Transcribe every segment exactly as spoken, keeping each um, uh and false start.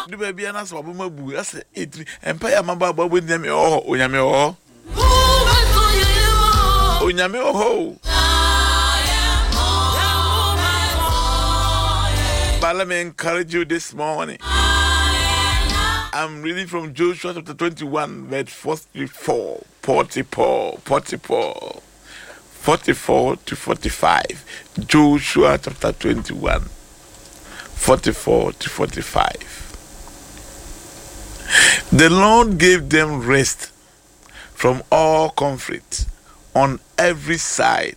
Du baabi a na sɛ wabɔ bu asɛ ɛtiri mpa yɛ amabɔ abɔ abɔ. Nyame wɔ hɔ, Onyame wɔ hɔ, Onyame wɔ hɔ o. But let me encourage you this morning. I'm reading from Joshua chapter twenty-one, verse forty-four, forty-four, forty-four, forty-four to forty-five. Joshua chapter twenty-one, forty-four to forty-five. The Lord gave them rest from all conflict on every side,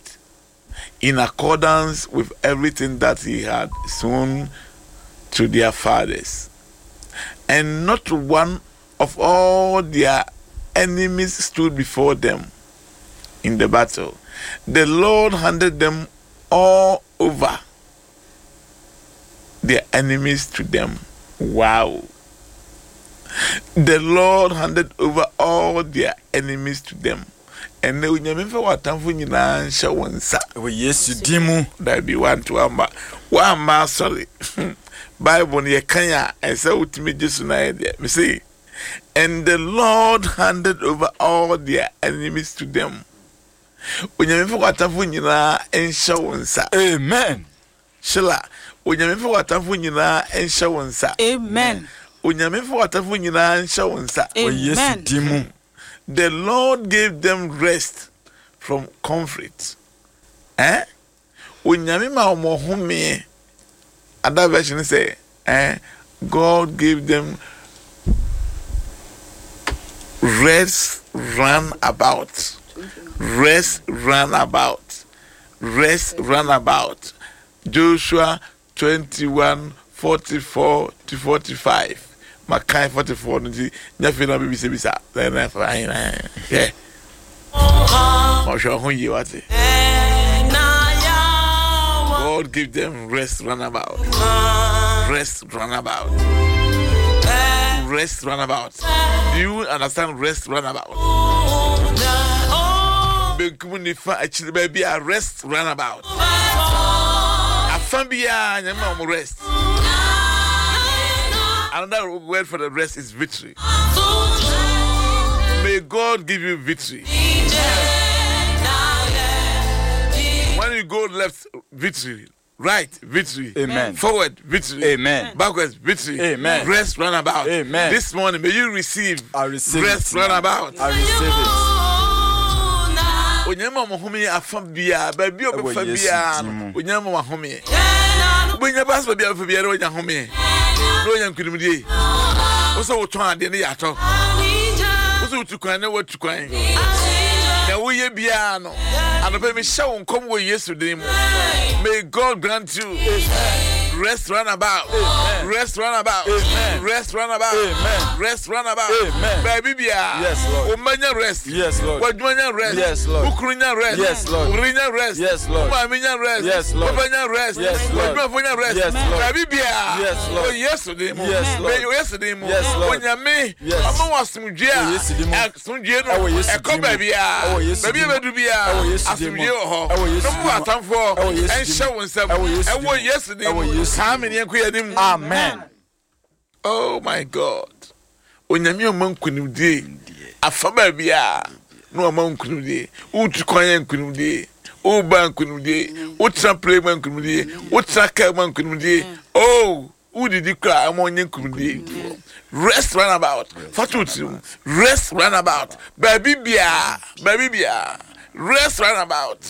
in accordance with everything that he had sworn to their fathers. And not one of all their enemies stood before them in the battle. The Lord handed them all over, their enemies to them. Wow. The Lord handed over all their enemies to them. And Onyame mfa w'atamfo nyinaa nhyɛ wo nsa. Wɔ Yesu din mu. Dabi, wanto amba wamma asɔre. Bible no yɛkan a, ɛsɛ wotumi gye so na yɛ deɛ mese. And the Lord handed over all their enemies to them. Onyame mfa w'atamfo nyinaa nhyɛ wo nsa. Amen. Sheila, Onyame mfa w'atamfo nyinaa nhyɛ wo nsa. Amen. Onyame mfa w'atamfo nyinaa nhyɛ wo nsa. Wɔ Yesu Amen. din mu. The Lord gave them rest from conflict. Eh? Onyame ma wɔn homeɛ. Other version say, eh, God gave them rest run about. Rest run about. Rest run about. Joshua twenty-one, forty-four to forty-five. Makai forty-four no nti nya na bibisa bisa. Na na fa na. Yeah. Ɔhwɛ ho yie wate. God give them rest run about. Rest run about. Rest run about. Do you understand rest run about? Benkum, nifa, akyiri, baabi a rest run about. Afa biara Nyame ma wɔn rest. Another word for the rest is victory. May God give you victory. When you go left, victory. Right, victory. Amen. Forward, victory. Amen. Backwards, victory. Amen. Rest, run about. Amen. This morning, may you receive I receive rest, it. run about. I receive it. Onyame ma ɔhome afa biara, baabi a Ɛwɔ ɔbɛfa Yesu biara din no mu. Onyame ma wahome. Wobɛnya baasa, baabi a bɛfa biara wonya home na wonya nkonimdie. Wo sɛ wotɔn adeɛ ne yɛ atɔ, wo sɛ wotu kwan ne woatu kwan, na woyɛ biara no, anɔpɛ mehyɛ wo nkɔm wɔ Yesu din mu. May God grant you rest run about. Rest run about. Amen. Rest run about. Amen. Rest run about. Amen. Baabi biara Yes, Lord. wo mma nya rest. Yes, Lord. W'adwuma nya rest. Yes, Lord. Wo kunu nya rest. Yes, Lord. Wo yere nya rest. Yes, Lord. Wo maame nya rest. Yes, Lord. Papa nya rest. Yes, Lord. W'adwumafo nya rest. Yes, Lord. Baabi biara Yes, Lord. wɔ Yesu din mu. Yes, Lord. Wɔ Yesu din mu. Yes, Lord. Onyame Yes. ɔma wɔ asomdwe Wɔ a Yesu din mu. Asomdwe no Ɛwɔ Yesu ɛkɔ din mu. baabiara. Ɛwɔ Yesu Baabi a din mu. bɛdu biara Ɛwɔ Yesu din mu. asomdwe wɔ hɔ. Ɛwɔ Yesu Na din mo mu. atamfoɔ Ɛwɔ Yesu din ɛnhyɛ mu. wo nsam. Ɛwɔ Yesu din Ɛwɔ mu. Yesu din Ɛwɔ mu. Yesu Kaa din me ne yɛnkɔ yɛn anim. Amen. Oh my God, Onyame ɔma nkonimdie afa baabi a na ɔma nkonimdie. Wotu kwan yɛ nkonimdie, woba nkonimdie, wotena plane ma nkonimdie, wotena kaa ma nkonimdie. Oh, wodidi kora ama ɔnyɛ nkonimdie. Rest run about. Fa to tirim, rest run about. Baabi biaa, baabi biaa, rest run about.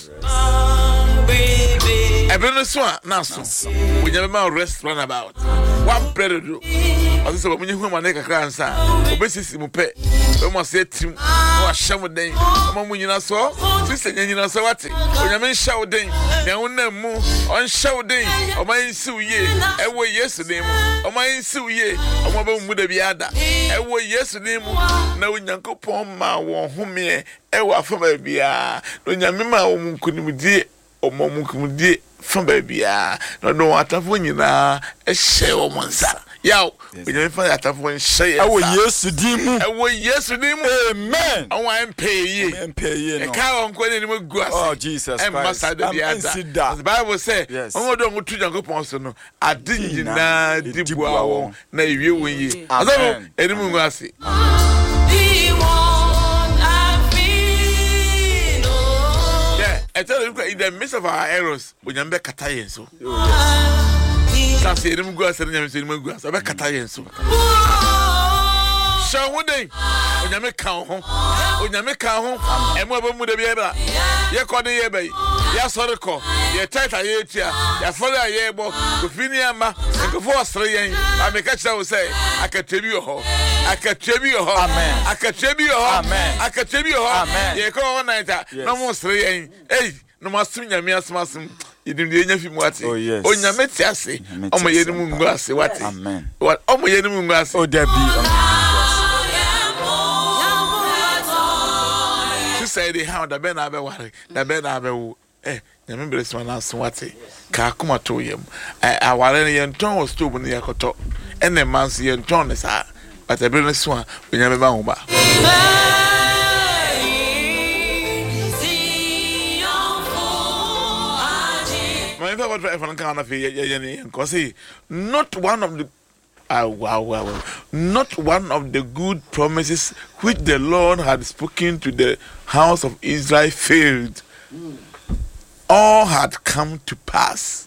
Ɛbɛ no so a na so Onyame ma wo rest run about. Wabrɛ dodo, ɔsɛ sɛ wɔn hu amane kakra ansa a obɛsisi mu pɛ, bɛmu ase atirim na wahyɛ mo den, ɔma mo nyina so sisi nya nyina so. Wate? Onyame nhyɛ wo den nea wonam mu, ɔnhyɛ wo den, ɔma yɛnsi wo yie ɛwɔ Yesu din mu. Ɔma yɛnsi wo yie, ɔma bɛ mu da bi ada ɛwɔ Yesu din mu. Na Onyankopɔn ma wɔn homeɛ ɛwɔ afa baabiara, na Onyame ma wɔn nkonimdie, ɔma wɔn nkonimdie fa baabiara, na ɔde wɔn atamfo nyinaa ɛhyɛ wɔn nsa. Yaw, Onyame fa yɛ atamfo nhyɛ yɛn Ɛwɔ nsa. Yesu din mu. Ɛwɔ Yesu din mu. Amen. Ɔmo a ɛmpɛ yie. Ɔmo ɛmpɛ yie no. Ɛka wɔn nko n'anim gu ase. Oh, Jesus Ɛmma Christ. saa da biara da. Ɛnsi da. The Bible sɛ, Yes. wɔn a wɔde wɔn to Nyankopɔn so no, ade nyinaa di boa wɔn na ewie wɔn yie. Amen. Asafo, anim ngu ase. Yeah, ɛtɔ da bi in the midst of our errors, Onyame bɛkata yɛn so. Sase anim gu ase no Nyame nso anim gu ase, ɔbɛkata yɛn so. Hyɛ wo ho den, Onyame ka wo ho. Onyame ka wo ho. Ɛmu a ɛbɛmu da biara, yɛkɔ de yɛba yi, yɛasɔre kɔ, yɛ tithe a yɛretua, yɛafɔre a yɛrebɔ, kofi ne ama, nkurɔfoɔ ɔsere yɛn. Ba meka kyerɛ wo sɛ, akatua bi wɔ hɔ. Akatua bi wɔ hɔ. Amen. Akatua bi wɔ hɔ. Amen. Akatua bi wɔ hɔ. Amen. Yɛkɔ all night a, Yes. na ɔmo sere yɛn. Ei, na ɔmo asom Nyame asom asom. Yɛnim deɛ yɛnya fi mu ate. Oh, yes. Onyame te ase. Nyame te Ɔmo ase yɛn mu ampa. ngu ase wate. Amen. Wa- Ɔmo yɛn mu ngu ase. Oh, Debbie. Sister yi de ha da bɛn na abɛware da bɛn na abɛwo ɛ Nyame bere soma na aso wate ka akoma to yam ɛ aware no yɛntɔn wɔ stove no yɛkɔtɔ ɛna mma nso yɛntɔn ne saa but ɛbere no so a Onyame bɛma ho ba. Maame fɛ wɔtɔ ɛfɔ no kan na afei yɛ yɛ yɛ nkɔ se not one of the ah wow wow wow not one of the good promises which the Lord had spoken to the house of Israel failed. All had come to pass.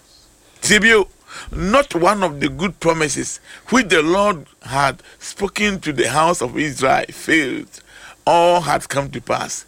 Tibio, not one of the good promises which the Lord had spoken to the house of Israel failed. All had come to pass.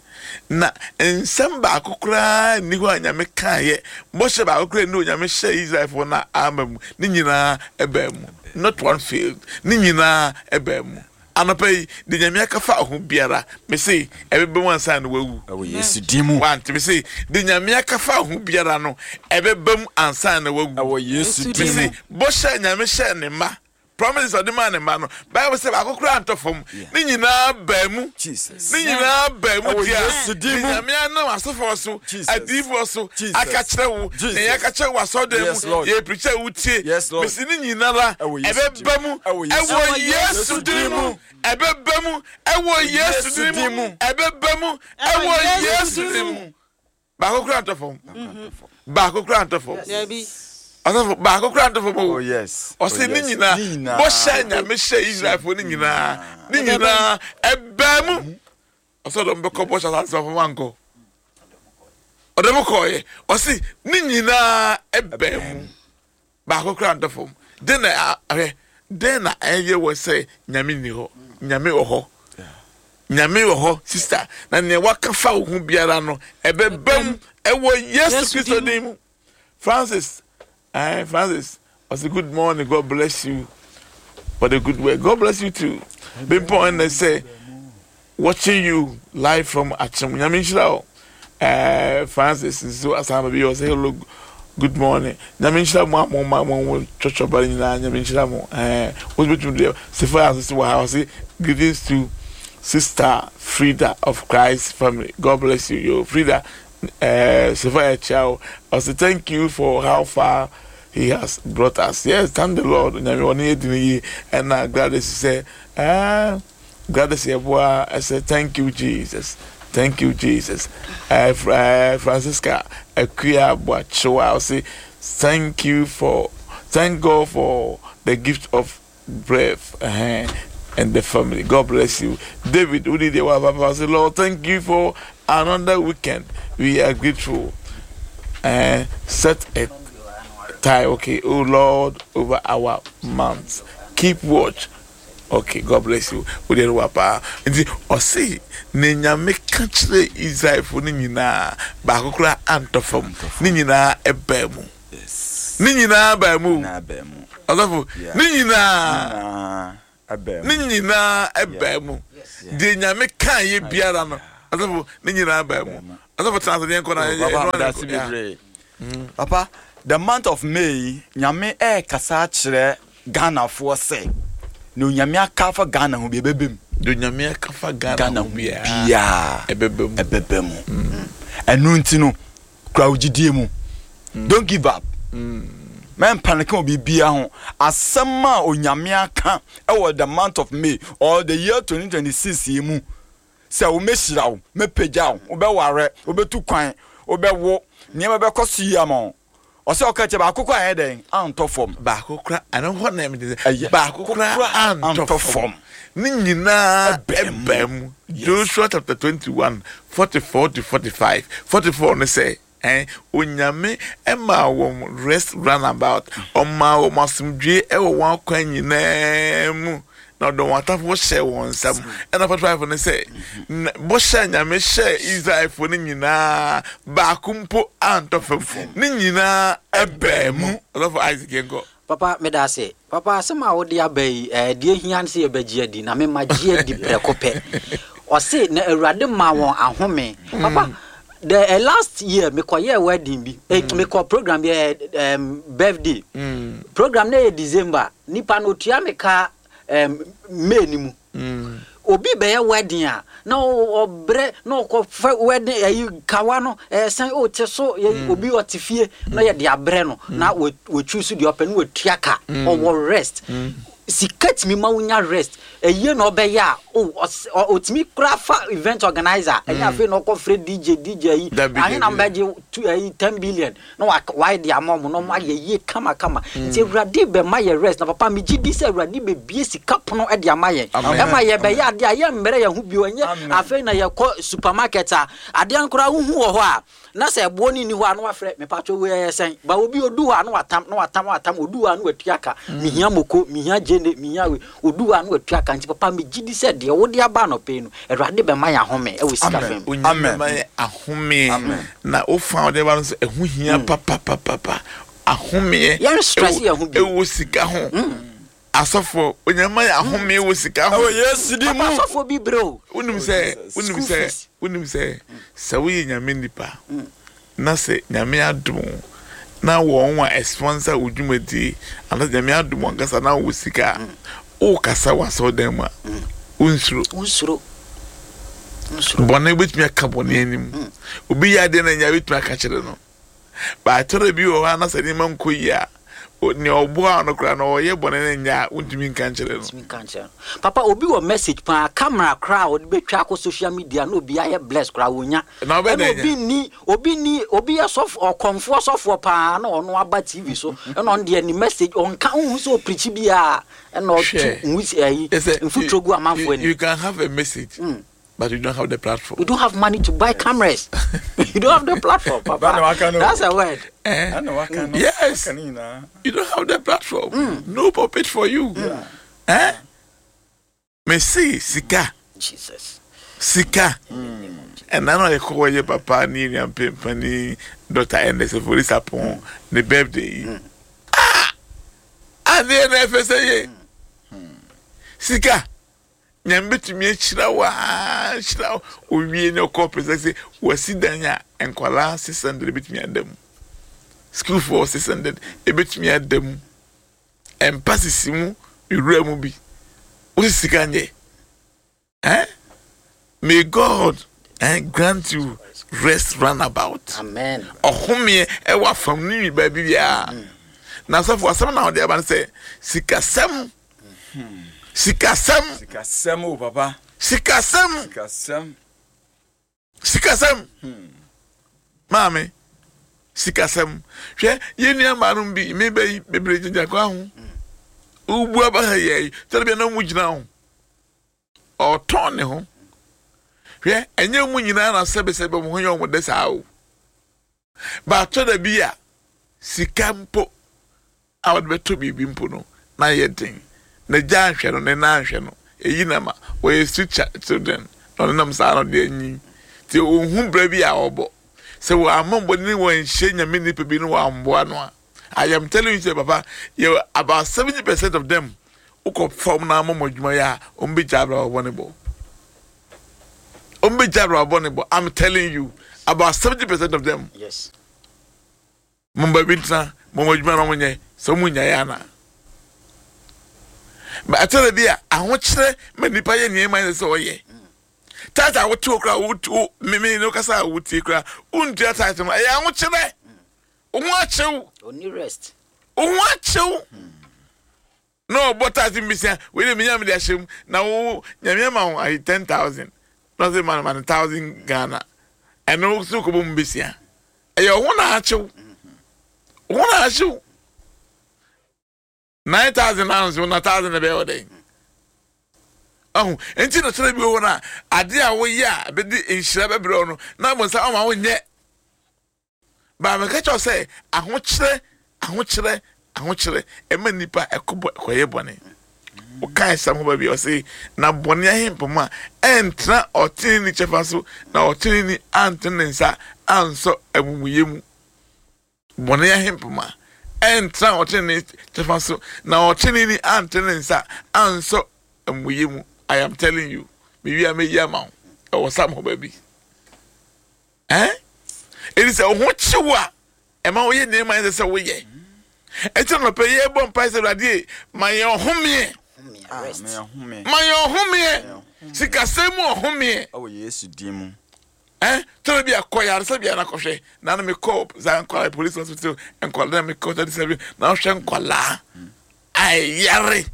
Na nsɛm baako koraa nni hɔ a Nyame kaeɛ, bɔhyɛ baako koraa nni hɔ a Nyame hyɛɛ Israelfoɔ no ama mu. Ne nyinaa ɛbaa mu. Not one failed. Ne nyinaa ɛbaa mu. Anɔpa yi, de Nyame aka fa ho biara, mese ɛbɛba mu ansa na wawu. Ɛwɔ Yesu din mu. Wante mese de Nyame aka fa ho biara no, ɛbɛba mu ansa na wawu. Ɛwɔ Yesu din mu. Mese bɔhyɛ a Nyame hyɛɛ ne mma, promises a ɔde maa ne mma no, Bible sɛ baako koraa antɔ fam. Ne nyinaa baa mu. Jesus. Ne nyinaa baa mu Ɛwɔ deɛ. Yesu din Ne mu. Nyame anam asɔfoɔ so, Jesus. adiyifoɔ so, Jesus. aka kyerɛ wo, Jesus. na yɛaka kyerɛ wo asɔredan Yes, mu, Lord. yɛpirikyi a wotie. Yes, Lord. Mese ne nyinara Ɛwɔ Yesu din ɛbɛba mu. mu. Ɛwɔ Yesu Ɛwɔ din mu. Yesu din mu. Ɛbɛba mu. Ɛwɔ Yesu din din mu. mu. Ɛbɛba mu. Ɛwɔ Yesu din mu. Baako koraa ntɔ fam. Baako koraa ntɔ fam. Ɔsɔfo baako koraa ntɔ fam o. Oh, yes. Ɔsɛ Oh, ne yes. nyinaa Ne nyinaa. bɔhyɛ Nyame hyɛ Israelfoɔ ne nyinaa ne nyinaa ɛbaa mu. Ɔsɛ ɔdɔm bɛkɔ bɔhyɛ asase so afɔ ankɔ. Ɔdɔm kɔɔyɛ. Ɔsɛ ne nyinaa ɛbaa mu. Baako koraa ntɔ fam. Den na a- ahwɛ den na ɛyɛ wɔ sɛ Nyame nni hɔ. Nyame wɔ hɔ. Nyame wɔ hɔ sister na nea waka fa wo ho biara no ɛbɛba mu ɛwɔ Yesu Yesu Kristo din din mu. Francis, eh, Francis, I say good morning. God bless you for the good work. God bless you too. Bimpon and they say, watching you live from Achim. Nyame nhyira wo. Eh, Francis nso asan ba bi ɔsɛ hello, good morning. Nyame nhyira mo a mo ma mo mo twɔtwɔ ba nyinaa. Nyame nhyira mo. Eh, wo betumi de Sefa nso wɔ ha ɔsɛ greetings to Sister Frida of Christ family. God bless you. Yo, Frida, uh, Sefa Chow. I say thank you for how far he has brought us. Yes, thank the Lord. Nyame ɔne yɛ di ne yie. Ɛna Gladys sɛ, ah, Gladys Yeboah, I say thank you Jesus. Thank you Jesus. Uh, uh, Francisca Akuya Boachewa, I say thank you for, thank God for the gift of breath. Uh-huh. And the family. God bless you. David, I say, Lord, thank you for another weekend. We are grateful. Uh, set a tie, okay, oh Lord, over our months. Keep watch. Okay, God bless you. Nti ɔse ne Nyame ka kyerɛ Israelfoɔ no nyinaa baako koraa antɔ fam. Ne nyinaa ɛbaa mu. Yes. Ne nyinaa baa mu. Na baa mu. Ɔsɔfo, Yeah. ne nyinaa Na ɛbaa ne mu. nyinaa ɛbaa mu. Deɛ Nyame kaa yɛ biara no, ɔsɔfo, ne nyinaa baa mu. Ɔsɔfo tena ase deɛ nkɔ na Oh, yɛ- Papa, ɛno ara meda na ase ɛkɔ. Yeah. bebree. Papa, the month of May, Nyame ɛrekasa akyerɛ Ghanafoɔ sɛ na Onyame aka afa Ghana ho bi ɛbɛba mu. Deɛ Onyame aka afa Ghana Ghana ho ho biara biara ɛbɛba mu. ɛbɛba mu. Ɛno nti no, kura wo gyidie mu. Don't give up. Mɛm panic wɔ biribiara ho. Asɛm a Onyame aka ɛwɔ the month of May or the year twenty twenty six yi mu sɛ womɛhyira wo, mɛpagya wo, wobɛware, wobɛtu kwan, wobɛwo, nneɛma bɛkɔ so yie ama wo. Ɔsɛ ɔka kyerɛ baako kora ayɛ dɛn antɔ fam. Baako kora ɛno hɔ na ɛmɛ Ɛyɛ. Baako kora antɔ antɔ fam. Fam. Ne nyinaa ɛbɛn mu. Ɛbɛn mu. Joshua chapter twenty one forty four to forty five. Forty four ne sɛ ɛn Onyame ɛma wɔn rest round about, ɔma wɔn asomdwe ɛwɔ wɔn akwan nyinaa mu, na ɔde wɔn atafo hyɛ wɔn nsam. Ɛna forty five ne sɛ na- bɔhyɛ a Nyame hyɛ Israelfoɔ no nyinaa, baako mpo antɔ fam, ne nyinaa ɛbɛn mu. Ɔsɔfo Isaac, yɛn kɔ. Papa, meda ase. Papa, asɛm a wode aba yi, eh, deɛ hia ne sɛ yɛbɛgye adi, na mema gye adi prɛko pɛ. Ɔse na Awurade ma wɔn ahome. Papa, the uh, last year mekɔyɛɛ wedding bi, eh, mekɔ program bi, eh, um, birthday program na yɛ December. Nipa no otua me ka um, May ni mu. Obi bɛyɛ wedding a na ɔ- ɔbrɛ na ɔkɔfɛ wedding ɛyi kawa no ɛsɛn o te so yɛ. Obi ɔte fie na yɛde abrɛ no na wɔ- wɔtwi so deɛ ɔpɛ na wɔtua ka, ɔwɔ rest. Sika tumi ma wonya rest. Ɛyie na ɔbɛyɛ a o ɔs- ɔ- ɔtumi kora fa event organizer, ɛnyɛ afei na ɔkɔfrɛ D J D J yi. Dabi, ahe na dabi. mbɛgye tu ɛyi ten billion na wa wayɛ de ama ɔmo na ɔmo ayɛ yie kamakama. Nti Awurade bɛma yɛ rest. Na papa, megye di sɛ Awurade bɛbie sika pono ɛde ama yɛn. Amen. Ɛma yɛbɛyɛ adeɛ a yɛmmerɛ yɛn ho bio. Ɛnyɛ Amen. afei na yɛkɔ supermarket a adeɛ no koraa wohu wɔ hɔ a na sɛ ɛboɔ no nni hɔ a na wafrɛ mepatwɛ wei ɛyɛ sɛn ba. Obi odu hɔ a na watam na watam na watam. Odu hɔ a na watua ka, mehia moko, mehia gyene, mehia wei. Odu hɔ a na watua ka. Nti papa, megye di sɛ deɛ wode aba anɔpɛ yi no, Awurade bɛma yɛn ahome ɛwɔ sika Amen. fam. Onyame Amen. ma yɛ ahome. Amen. Na wofa wode ba no sɛ ɛho hia papapapapa, ahomeɛ. Yɛn stress ɛwɔ- yɛn ho bio. Ɛwɔ sika ho. Asɔfoɔ, Onyame ma yɛ ahomeɛ wɔ sika ho. Ɛwɔ Yesu di mu. Papa, asɔfoɔ bi brɛ o. Wonim sɛ Jesus. wonim School sɛ fees. Wonim sɛ sɛ woyɛ Nyame nipa na sɛ Nyame adom wo na wɔn a sponsor wo dwumadie anaasɛ Nyame adom wo ankasa na wowɔ sika a, wokasa wɔ asɔredan mu a, wonsuro. Wonsuro, wonsuro. Bɔne wobɛtumi aka bɔne anim. Obi yɛ adeɛ no anya, wobɛtumi aka kyerɛ no. Baatɔrɔ bi wɔ hɔ a na sɛ nneɛma nkɔ yie a, o- nea ɔboa no koraa na ɔyɛ bɔne no nya a, wontumi nka nkyerɛ no. Tumi nka nkyerɛ no. Papa, obi wɔ message paa, camera koraa a ɔde bɛtwa akɔ social media na obi ayɛ bless koraa wonya. Na ɔbɛda ɛna nya. Obi ni obi ni obi yɛ sɔfo, ɔkɔmfoɔ sɔfoɔ paa, na ɔno aba T V so, ɛna ɔno deɛ ne message ɔnka nhu sɛ ɔpirikyi biara, ɛna ɔto Hwɛ. nwusi ɛyi Yes, mfuturo gu amanfoɔ you, anim. you can have a message, but you don't have the platform. You don't have money to buy cameras, you don't have the platform, papa. Bana waka no. That's a word. Eh? Ɛna waka no. Yes. Waka ne nyinaa. You don't have the platform. No pulpit for you. Eh? Mese sika. Jesus. Sika. Ɛna na ɔyɛ kɔwɔ yɛ papa ne nua mpempani Doctor Ernest Ofori ne birthday yi. Ah! Adeɛ na ɛfɛ sɛ yɛ. Sika. Nyame bɛtumi ahyira wo aa hyira wo owie ne ɔkɔ pɛ sɛ sɛ wasi dan a nkwalaa six hundred bɛtumi ada mu, sukuufoɔ six hundred ebɛtumi ada mu, mpa sisi mu, ewura mu bi wosi sika nyɛ. Eh, may God eh, grant you rest round about. Amen. Ɔhomeɛ ɛwɔ afam ne nwi baabi biara. Na asɔfo, asɛm na ɔde aba no sɛ sikasɛm, sikasɛm. Sikasɛm o, papa. Sikasɛm. Sikasɛm. Sikasɛm, maame, sikasɛm. Hwɛ, yɛn nua maanom bi meba yi bebree gyinagyina kwan ho, wobu aba ha yɛ yi sɛde bia na ɔmu gyina ho, ɔtɔn ne ho. Hwɛ, ɛnyɛ mu nyinaa na sɛbesɛbe ɔmo ho yɛ ɔmo de saa o. Baatɔ da bi a sika mpo a wɔde bɛtɔ biribi mpo no na yɛ den na gya ahwɛ no ne nan ahwɛ no eyi na ma wɔyɛ street children na ɔne nam saa na ɔde anyi nti ohun brɛ bi a ɔbɔ sɛ wɔn ama bɔ ne wɔn nhyɛ Nyame nipa bi ne wɔn amboa no a, I am telling you sɛ papa, yɛ about seventy percent of them wokɔ fam na ama mo adwuma yɛ a, wɔn bɛ gya abira wɔbɔ ne bɔ, wɔn bɛ gya abira wɔbɔ ne bɔ. I'm telling you, about seventy percent of them. Yes. Mo ba bi ntena mo mo adwuma na mo nyɛ sɛ mo nya yɛ ana ba atɛrɛ bi a ahokyerɛ ma nipa yɛ nneɛma yɛ sɛ ɔyɛ tithe a wote wo kora wo mimi ne kasa a wotie kora wontua tithe no, ɛyɛ ahokyerɛ, wo ho akyew. Only rest. Wo ho akyew na ɔbɔ taase mbisia wei de menya mede ahyɛ mu na wo Nyame ama wo ayi ten thousand na ɔsɛ ma no ma no thousand Ghana, ɛno so kɔbɔ mu besia. Ɛyɛ wo ho na akyew, wo ho na akyew. Nine thousand na nso na thousand na ɛbɛyɛ ɔdɛn ɔho. Nti na kyerɛ bi wɔ hɔ no a, adeɛ a woyɛ a bɛde nhyira bɛbrɛ wo no na abɔnsa ɔma wonyɛ. Baa meka kyerɛ sɛ ahokyerɛ, ahokyerɛ, ahokyerɛ ɛma nipa ɛkɔbɔ ɛkɔyɛ bɔne. Wokae sɛm ho baabi ɔse na bɔne ahempoma ɛntena ɔteneni kyɛfa so, na ɔteneni antene ne nsa ansɔ amumuyɛ mu. Bɔne ahempoma ɛntena ɔteneni kyɛfa so, na ɔteneni antene ne nsa ansɔ amumuyɛ mu. I am telling you, mewi a meyi ama wo ɛwɔ sam ho baabi. Eh, ɛdi sɛ wo ho kyew a ɛma woyɛ nneɛma ɛsɛ sɛ woyɛ. Ɛnti na nɔpɛ yɛbɔ mpae sɛ Awurade ma yɛn ɔhomeɛ, ma yɛn ɔhomeɛ, sikasɛm mu ɔhomeɛ ɛwɔ Yesu din mu. Eh, tɔrɔ bi akɔ yaresa bi anakɔhwɛ na na mekɔ saa nkwalaa police hospital, nkwalaa na mekɔ thirty seven na ɔhwɛ nkwalaa ayare,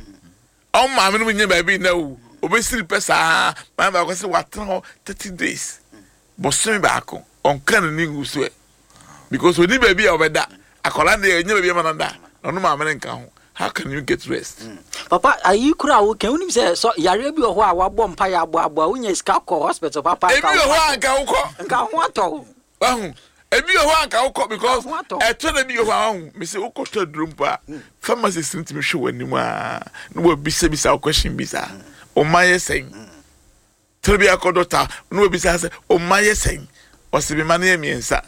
ɔmo maame no mu nyɛ baabi na o obesiri pɛ saa. Maame baako sɛ watena hɔ thirty days, bɔsɔmi baako ɔnka n'ani ngu so ɛ, because oni baabi a ɔbɛda. Akwadaa deɛ ɛnyɛ baabi ama no da na ɔno maame no nka ho. How can you get rest? Mm. Papa, ayi kura a woka, wonim sɛ sɔ yareɛ bi wɔ hɔ a wabɔ mpa yɛ aboaboa, wonya sika kɔ hospital papa. Ebi wɔ hɔ a nka wokɔ nka ho atɔ wo. Wahu, ebi wɔ hɔ a nka wokɔ because ɛtɔ na bi wɔ hɔ a wahu mesi wokɔtɔ aduro mpo a, pharmacist no tumi hwɛ w'anim a na wabisabisa wo question bi saa, ɔma yɛ sɛn? Tɛrɛ bi akɔ dɔkta na wabisa sɛ ɔma yɛ sɛn? Ɔsɛ mi ma no yɛ mmiɛnsa,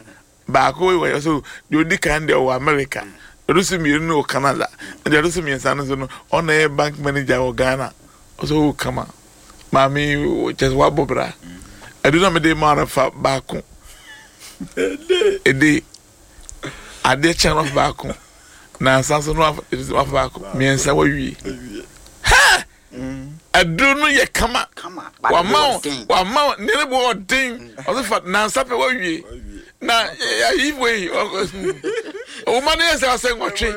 baako wɔ yɛ so deɛ odi kan deɛ ɔwɔ America, deɛ ɔdo so mmienu no wɔ Canada, deɛ ɔdo so mmiɛnsa no nso no ɔna yɛ bank manager wɔ Ghana. Ɔsɛ ɔwɔ kama maame kyɛ sɛ wabɔ bra ɛdo na mede maa no fa baako ɛde adeɛ kyɛn no baako na nsa nso no wafa baako mmiɛnsa wawie. Ha, ɛduro no yɛ kama, wama wo wama wo ne ne bo ɔden, ɔsɛ fa nansa pɛ wawie. Na ayi wei ɔwoma no yɛ sɛ ɔsɛ nwɔtwe,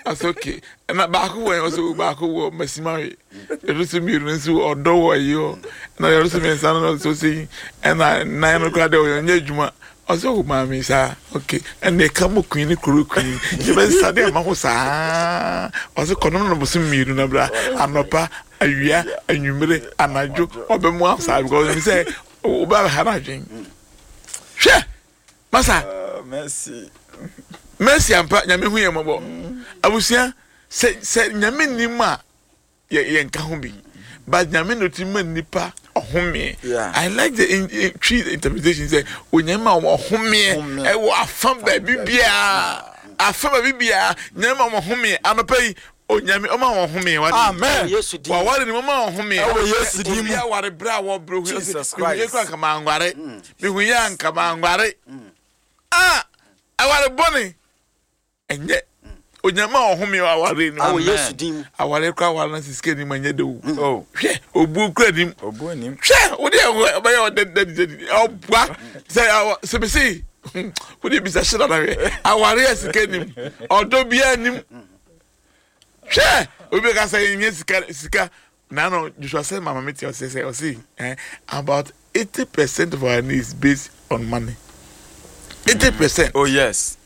ɔsɛ okay. Na baako wɔ ɔsɛ baako wɔ masimawe, ɛdo so mmienu nso ɔdɔ wɔ ayi hɔ, na ɛdo so mmiɛnsa no nso sɛ ɛna nan no koraa deɛ ɔyɛ nyɛ adwuma. Ɔsɛ ɔwɔ maame saa, okay, ɛna ɛka mo queen ne kuro queen yɛbɛsa de ama ho saa. Ɔsɛ kɔnɔm no bosom mmienu na bra anɔpa, awia, anwummere, anadwo ɔbɛmu asa because ɛmi sɛ ɔbɛ ha n'adwen. Hwɛ masa. Mercy. Mercy ampa, Nyame hu yɛn mmɔbɔ. Abusua, sɛ sɛ Nyame nim a yɛ yɛ nka ho bi, but Nyame na ɔtumi ma nipa ɔhomeɛ. I like the in, in, tree interpretation sɛ Onyame ma wɔn ɔhomeɛ ɛwɔ afa baabi biara, afa baabi biara Nyame ma wɔn ɔhomeɛ. Anɔpa yi Onyame ɔma wɔn ɔhomeɛ wa. Amen. Waware ni ɔma wɔn ɔhomeɛ. Ɛwɔ Yesu din mu. Obi aware bere a wɔbrɛ hu. Jesus Christ. Mihu yɛ kura nkama anware. Mihu yɛ nkama anware. Ah, aware bɔne ɛnyɛ Onyame a ɔhome aware ni. Ɛwɔ Yesu din mu. Aware kora aware na sisike ni ma nyɛ de o. Oh. Hwɛ obu kura nim. Obu nim. Hwɛ o de ɔbɛyɛ ɔdɛ dɛ dɛ ɔbua sɛ sɛ bisi o de bisa hyɛ dada hwɛ aware yɛ sika nim ɔdɔ bia nim. Hwɛ obi ka sɛ nyɛ sika sika nano Joshua sɛ mama mi ti ɔsɛ sɛ ɔsi eh about eighty percent of our needs based on money. Eighty percent. Oh yes.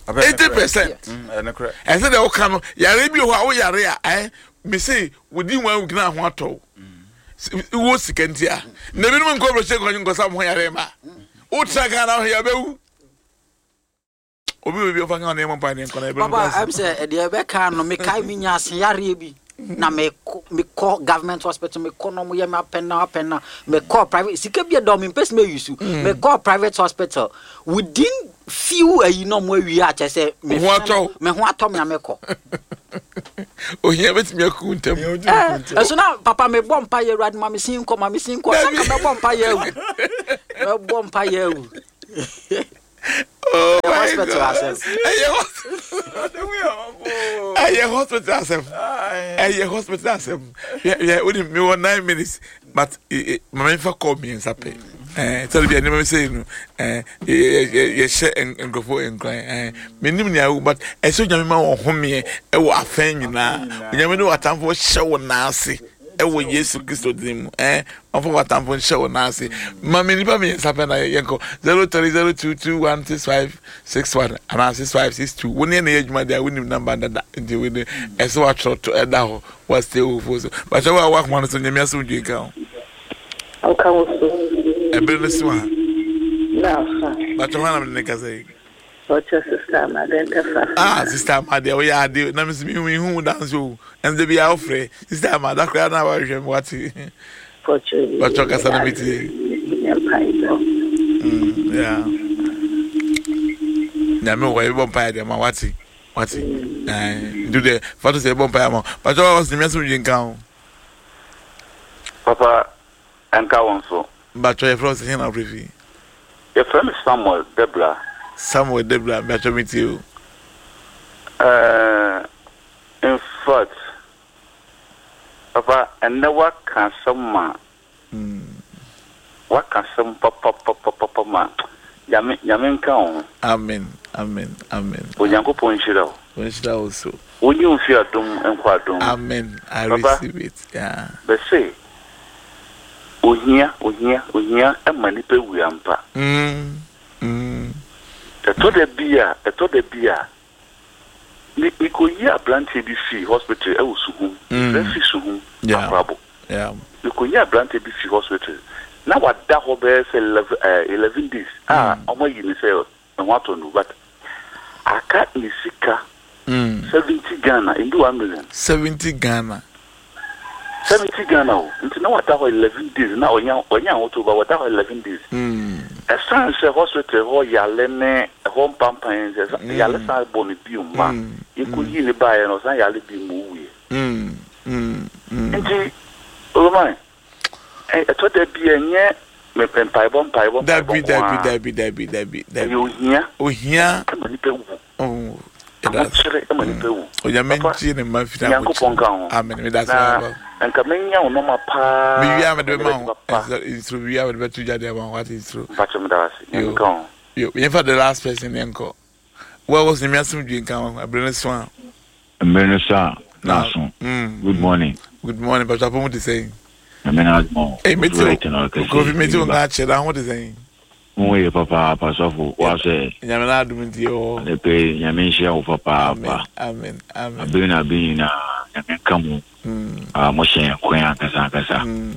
Eighty percent. Ɛsɛ dɛ ɔka no yare bi wɔ hɔ a woyare a ɛ mese wodi one week na ho atɔ wo sika nti a na ebinom nkɔ brɔhyɛ nkɔ nkɔsa mo ho yare ma wotra Ghana ho yɛ bɛwu obi obi ɔfa nka nneɛma mpa ne nkɔ na ebe papa ɛm sɛ ɛdeɛ ɛbɛka no mekae menya ase yareɛ bi na mekɔ mekɔ government hospital, mekɔ na ɔmo yɛ me apɛn na apɛn na mekɔ private sika bi ɛdɔ me mpɛ sɛ meyi so mekɔ private hospital within few ayi na ɔmo awie akyɛ sɛ me Ho atɔ wo. me ho atɔ me a mekɔ. Ohia bɛtumi aku ntam. Ɛɛ ɛso na papa mebɔ mpa yɛ Awurade ma me sin nkɔ ma me sin nkɔ sanka mɛbɔ mpa yɛ awu mɛbɔ mpa yɛ awu. Oh my hospital God. asɛm. Ɛyɛ hospital, ɛyɛ hospital asɛm, ɛyɛ hospital asɛm. Yɛ yɛ o de mi wɔ nine minutes but maame nfa kɔɔ mmiɛnsa pɛ. Eh, sɛ bi nneɛma bi sɛ no, eh, yɛhyɛ nkurɔfoɔ nkuran. Eh, menim nea wo, but ɛsɛ Onyame ma wɔn homeɛ ɛwɔ afɛn nyinaa. Onyame ne w'atamfo hyɛ wo nan ase ɛwɔ Yesu Kristo din mu. Eh, ɔmfa w'atamfo nhyɛ wo nan ase. Ma me nipa mmiɛnsa pɛ na yɛnkɔ zero three zero two two one six five six one anaa six five six two. Wo ne yɛn na ɛyɛ adwuma deɛ a, wonim number dada, nti wo de ɛsɛ watwerɛ to ɛda hɔ wasɛ wo fo so. Bakyɛ wo a wakoma no so, Nyame asomdwe nka ho. Ɔka wo so. Ɛbere no so a. Na afa. Bakyɛ hɔ na mene ne kasa yi. Ɔkyɛ Sister Amade Ntafa. Ah, Sister Amade, woyɛ ade na mesi mi hu wo danso o. Ɛnde bi a wofrɛ Sister Amade akora na wahwehwɛ me wate. Ɔkyɛ. Bakyɛ kasa na metie. Mpaebɔ. Mm, yeah. Nyame wɔ yɛbɔ mpaeɛ deɛ ma wate. Wate. Ɛɛ, nti deɛ fa to sɛ yɛbɔ mpaeɛ ama. Bakyɛ wa wɔsi Nyame asomdwe nka ho. Papa, ɛnka wo nso. Bakyɛ yɛfrɛ wo sɛ hɛn na wofrɛ fi? Yɛfrɛ me Samuel Debra. Samuel Debra, bakyɛ metie o. Uh, in fact, papa, ɛnnɛ waka asɛm ma waka asɛm papapapapa ma Nyame Nyame nka wo ho. Amen, amen, amen. Onyankopɔn nhyira wo. Nhyira wo so. Wonyi wo mfi adom nkɔ adom. Amen. I Papa, receive it. Yeah. Bɛse ohia ohia ohia ɛma nipa wu ampa. Mm. Mm. Ɛtɔ da bi a ɛtɔ da bi a me mekɔyi aberanteɛ bi fii hospital ɛwɔ Suhum. Mefrɛ fi Suhum. Yeah. Akorabo. Yeah. Mekɔyi aberanteɛ bi fi hospital na wada hɔ bɛyɛ sɛ eleven ɛɛ eleven days a ɔmo ayi ne sɛ ne ho atɔ no, but aka ne sika Mm. seventy Ghana, ndu one million. seventy Ghana. Seventy Ghana o, nti na wada hɔ eleven days na ɔnya ɔnya ahotɔ ba, wada hɔ eleven days. Mm. Ɛsan sɛ hospital hɔ yale ne ɛhɔ mpampan sɛ mm. yale san bɔ ne bio ma Mm. yɛkɔyi ne baeɛ no, ɔsan yale bi mu wuiɛ. Mm. Mm. Mm. Nti Oloman, ɛtɔ da bi a ɛnyɛ me- mpaebɔ mpaebɔ mpaebɔ Dabi, nko dabi, ara. dabi, dabi, dabi, Ɛyɛ dabi. ohia Ohia. ɛma nipa wu. Oh. Ɛda ase. Ahokyere ɛma nipa wu. Onyame Papa, ngye ne mma mfiri Nyankopɔn ahokyere. ka ho. Amen. Meda ase Na papa. nka menya wo nɔma paa. Mewie a mede bɛma wo. Papa. Nsuro, mewie a mede bɛto gya de ama wo. Wate, nsuro. Mpakyɛ, meda ase. Yo. Nyame ka ho. Yo, yɛmfa the last person yɛnkɔ. Wo a wɔsɛ Nyame asomdwe nka ho. Ɛberɛ no so a. Mmerɛ no so a na aso. Mm. Good morning. Good morning. Pastor Apomu te sɛn? Nyame na adom o. Hey, mete Right na ɔkɛse. Kofi, mete wo nka akyerɛ na ho te sɛn? Ho yɛ papaapa, sɔfo. Wasɛ Nyame na adom nti yɛwɔ hɔ. Adepe, Nyame nhyira wo Amen. papaapa. Amen. Amen. Abere na abere nyinaa Nyame nka mo. Mm. Ah, mohyɛ yɛn kwan ankasa ankasa. Mm.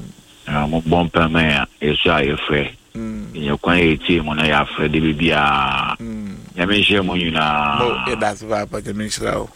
Ah, mobɔ mpa ma yɛn a yɛsɔ a yɛfrɛ. Mm. Yɛnyɛ kwan yɛ yɛtie mu na yɛafrɛ de biribiara. Mm. Nyame nhyira mo Mo nyinaa. yɛda ase paapa, Nyame nhyira wo.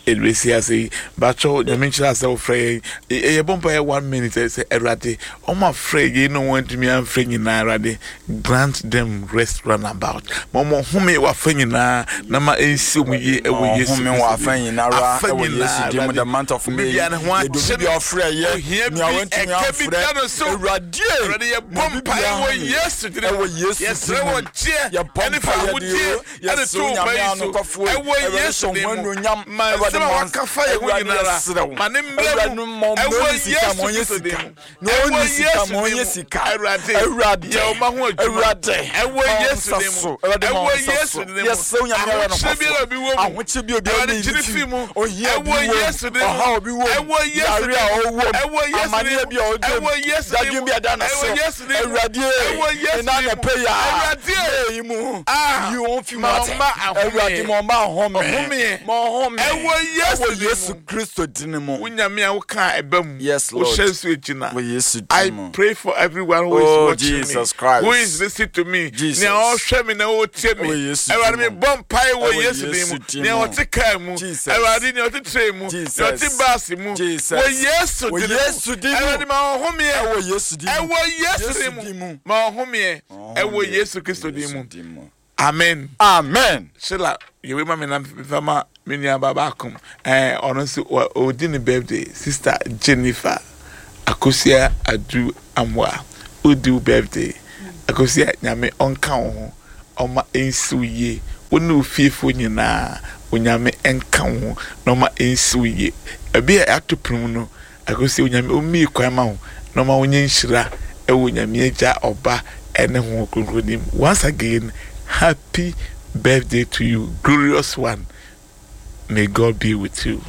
Ɛbɛsi ase yi, bakyɛw, Nyame nhyira sɛ wofrɛ yɛn. Ɛ- ɛyɛ bɔ mpa yɛ one minute sɛ Awurade ɔmo afrɛ yɛn na wɔn antumi amfrɛ nyinaa, Awurade, grant them rest round about, ma ɔmo home wɔ afa nyinaa na ma ɛnsi ɔmo yie ɛwɔ Yesu Ɔhome wɔ afa nyinara Afa ɛwɔ nyinaa, Yesu din mu. The month of May, Obi biara ne ho yɛde obi akyere bi a ɔfrɛ yɛ ohia nea bi wantumi ɛka bi amfrɛ da no so. Awurade, Awurade, yɛbɔ mpaeɛ wɔ Yesu din mu. Ɛwɔ Yesu Yɛsrɛ din mu. wɔ gyeɛ Yɛbɔ ɛne fa mpaeɛ de ahodie o ɛde yɛsrɛ to wo Onyame ba yi so anokwafoɔ ɛwɔ Awurade Yesu hyɛ din ho mu. anuonyam. Ma Awurade nsɛm a ma waka fa yɛ ho Awurade nyinara yɛsrɛ wo. ma ne mmerɛ Awurade mu ma ɔmma ɛwɔ ɔnni sika, Yesu ma ɔnyɛ Kristo din sika. mu. Na Ɛwɔ ɔnni sika, Yesu ma din ɔnyɛ mu. sika. Awurade, Awurade, yɛ wo ma ho adwuma Awurade, ɛwɔ ma wo Yesu nsa din mu. so. Awurade, ma wo Ɛwɔ nsa Yesu so. din mu. Yɛsrɛ wo Nyame Ahokyere anokwafoɔ. biara obi wɔ mu, Ahokyere bi obiara Awurade, ne gye ne fi fi mu. ohia bi Ɛwɔ wɔ mu, Yesu din mu. ɔhaw bi wɔ mu, Ɛwɔ Yesu yare din a mu. ɔwɔ mu, Ɛwɔ Yesu amanneɛ din mu. bi a ɔda mu, Ɛwɔ Yesu din dadwen mu. bi a ɛda ne Ɛwɔ so. Yesu din mu. Awurade, Ɛwɔ Yesu ɛna din mu. anɔpa yi a, Awurade, May yi mu, Ah, yi wɔn fi mu ma ate. ɔmma ahome. Awurade, ma ɔmma ahome. Ɔhome. Ma ɔhome. Ɛwɔ Yesu Ɛwɔ din Yesu mu. Kristo din mu. Wo Nyame a wokaa ɛba mu, Yes, Lord. wohyɛ nso agyina. Wɔ Yesu I din mu. pray for everyone who is Oh, watching Jesus me, Christ. who is listening to me, Jesus. nea ɔhwɛ me na ɔtie me. Wɔ Yesu Awurade, din mu. mebɔ mpae wɔ Ɛwɔ Yesu din mu. Yesu din Nea mu. ɔte kaa mu, Jesus. Awurade, nea ɔte train mu, Jesus. nea ɔte bus mu, Jesus. wɔ Yesu Wɔ din mu. Yesu din mu. Awurade, ma ɔhomeɛ. Ɛwɔ Yesu din mu. Ɛwɔ Yesu Yesu din mu. din mu. Ma ɔhomeɛ. Ɛwɔ Yesu Kristo din Yesu mu. din mu. Amen. Amen. Sheila, yɛwei ma me na mefa ma me nua ba baako. Ɛɛ, ɔno nso wɔ- ɔdi ne birthday. Sister Jennifer Akosua Adu Amoa, ɔdi wo birthday. Akosua, Nyame ɔnka wo ho, ɔma ɛnsi wo yie. Wo ne wo fiefoɔ nyinaa, Onyame ɛnka wo ho na ɔma ɛnsi wo yie. Ɛbi a ɛato pono mu no, Akosua, Onyame ɔmmie kwan ma wo na ɔma wonyɛ nhyira ɛwɔ Nyame Agya, Ɔba Ɛne Honhom Kronkron din mu. Once again, happy birthday to you, glorious one. May God be with you.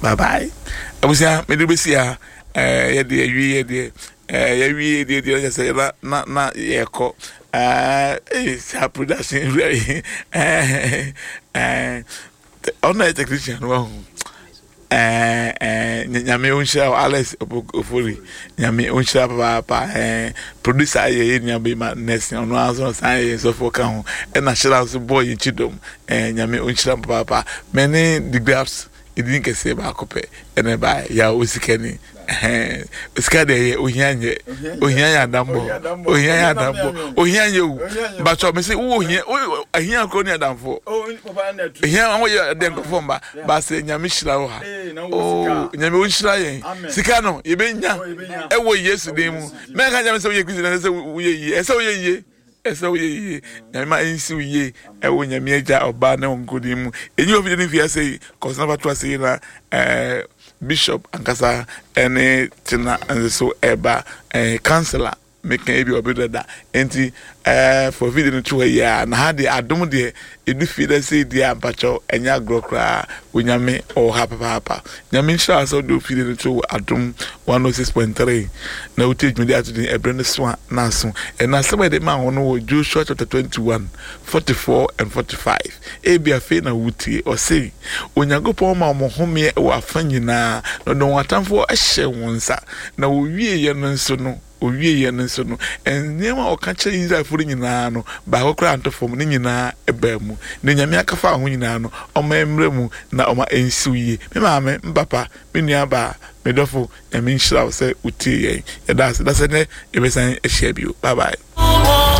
Bye bye. Abusua, mede bɛsi ha. Ɛɛ yɛde awie yɛde ɛɛ yɛwie yɛde yɛde yɛ sɛ na na na yɛkɔ. Ɛɛ ee saa production wura yi ɛɛ ɛɛ ɔno yɛ technician no wahu. Ɛɛ ɛɛ Nyame onhyira wo, Alex Ofori. Nyame onhyira papaapa. Ɛɛ producer yɛ yɛ nua bɛma nurse, ɔno ara nso san yɛ sɔfo ka ho. Ɛna hyira nso bɔɔ yɛn kyi dɔm. Ɛɛ Nyame onhyira papaapa. Mɛne the grabs edin kɛseɛ baako pɛ ɛna ɛbaeɛ yà osikani. Ɛhɛn sika deɛ yɛ ohia nyɛ, ohia yɛ adambɔ, ohia yɛ adambɔ, ohia nyɛ o. Bàtɔ mi sɛ wo ohia wo ohia kuro ni adamfo, ohia wɔn yɛ ɛdɛ nkɔfɔ mba baasa. Nyame hyira wo ha oo, Nyame o nhyira yɛn. Sika no yɛbɛ nya ɛwɔ Yesu din mu. Mɛnka nyame sɛ woyɛ Kristo na ɛsɛ sɛ woyɛ yie, ɛsɛ woyɛ yie, ɛsɛ woyɛ yie. Nyame ma ɛnsi wo yie ɛwɔ Nyame Agya, Ɔba ne wɔn nkodin mu. Enyi wɔ fidie ne fi ase yi kɔsena fa to ase yi na ɛɛ bishop ankasa ɛne tena nso ɛba ɛɛ councillor meka ebi ɔbi dada nti ɛɛ fɔ fidie no to hɔ yi a na ha deɛ adom deɛ edu fie dɛ sɛ edi a mpakyɛw ɛnyɛ agorɔ koraa. Onyame ɔwɔ ha papaapa. Nyame nhyira sɛ ɔde ofidie no to Adom one oh six point three na wotie dwumadi ato din Ɛberɛ No So a na aso. Ɛna asɛm a yɛde maa wɔn no wɔ Joshua chapter twenty one forty four and forty five. Ebi afei na wotie. Ɔse Onyankopɔn ma wɔn homeɛ wɔ afa nyinaa na ɔde wɔn atamfoɔ hyɛ wɔn nsa, na wɔwieɛ no nso no owieɛ no nso no nneɛma a ɔka kyerɛ Israelfoɔ no nyinaa no, baako koraa nto fam. Ne nyinaa ɛbaa mu. Na Nyame akafa ho nyinaa no, ɔma mmerɛ mu na ɔma ɛnsiw yie. Me maame, me papa, me nua baa, me dɔfo, Nyame nhyira wo sɛ wotie yɛn. Yɛda ase da sɛ nnɛ yɛbɛsan ahyia bio. Bye bye.